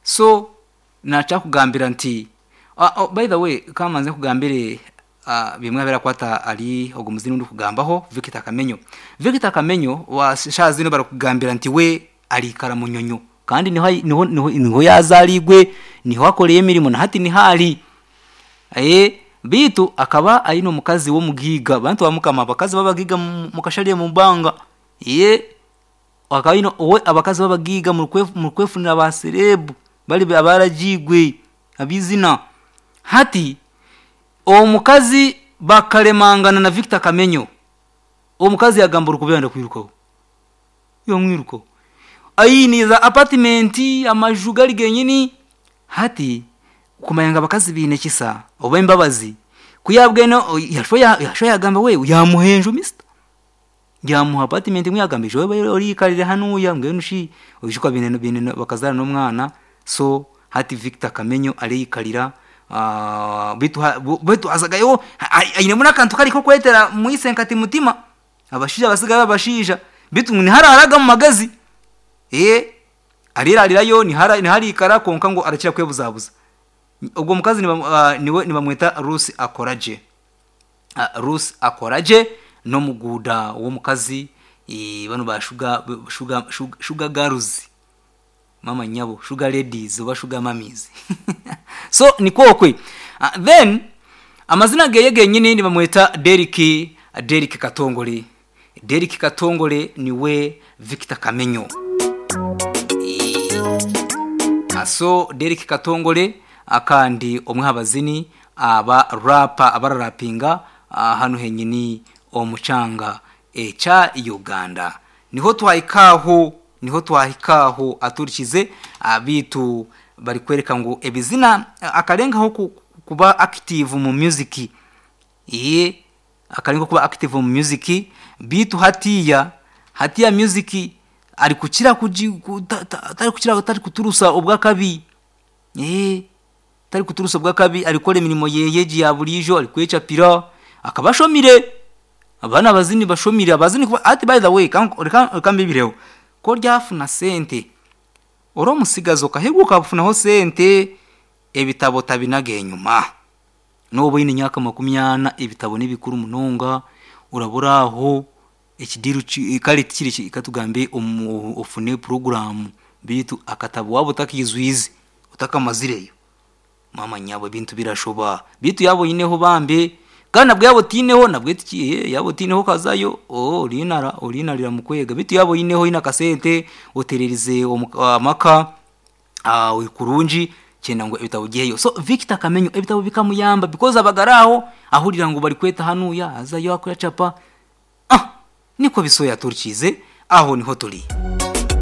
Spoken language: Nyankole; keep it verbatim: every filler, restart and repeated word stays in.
So nakyakugambira nti uh, oh, by the way, kamanze nkugambire uh, bimwe birakwata ari ogu muzini ndi kugambaho, Victor Kamenyo. Victor Kamenyo wa shazino barakugambira nti we arikara Munyonyo, kandi niho niho niho, niho yazaligwe, niho akoreye emirimo, na hati nihali eh bitu akaba ayino mukazi wo mugiga. Bantu bamukama abakazi babagiga mukashaliye mu banga ye akaba owe abakazi babagiga mu kwefunira ba celeb bali abarajigwe abizina. Hati omukazi bakalemangana na Victor Kamenyo, omukazi yagamba urukubenda kwirukaho, yomwiruko ayiniza apartment amaju gali genyini. Hati kumayanga abakazi bine kisa oba imbabazi kuyabweno yasho yasho yagamba we yamuhenjo mister yamuha apartment mwe yagamba ejo ori ikarire hanuya mbwenu shi obishuka bine bine bakazara n'omwana. So hati Victor Kamenyo ariyikarira uh, bitu bitu azagayo aine muna kantu kari ko kwetera muisenkati mutima abashija basigaye abashija bitu nihararaga mu magazi eh arirarirayo nihara niharikara konka ngo arakira kwebuzabuza. Ubwo mukazi niwe nibamweta Rusi Akoraje, uh, Rusi Akoraje no muguda wo mukazi e, bano ba sugar sugar sugar girls, mama nyabo, sugar ladies oba sugar mummies. So nikokwe uh, then amazina geye genyini nibamweta Derek Derek Katongole. Derek Katongole niwe Victor Kamenyo. E, so Derek Katongole akandi omwe abazini aba rapa abararapinga hano henyini omucanga echa Uganda. Niho twahikaho niho twahikaho aturikize abitu bari kwereka ngo ebizina akarengaho kuba active mu music, iye akarenga kuba active mu music bitu hatiya hatiya music ari kukira atari kukira atari kuturusa obwakabi eh tari kuturusa bwakabi alikole mirimo yeyeji ya bulijo ali kwechapira akabashomire abana abazini bashomire abazini kuba ati by the way kambibireho ko ryafuna sente oro musigazo kaheguka bufunaho sente ebitabo tabinage nyuma nobo yine nyaka makumyana ebitabo nibikuru munonga uraburaho ekidiru kale kiri ikatugambe ofune program bitu akatabo wabo takizwizi utakamazireyo mama nyabo bintu birashoba bitu yabo yineho bambe kana bwe yabo tineho nabwe tikiye yabo tineho kazayo oh rinara orinarira mukwega bitu yabo yineho ina kasente otererize amaka ah ukurunji cyenda ngo ebitabo giheyo. So Victor Kamenyo ebitabo bikamuyamba because abagaraho ahurira ngo bari kweta hanuya azayo akoya chapa ah niko bisoya turkize aho niho turi.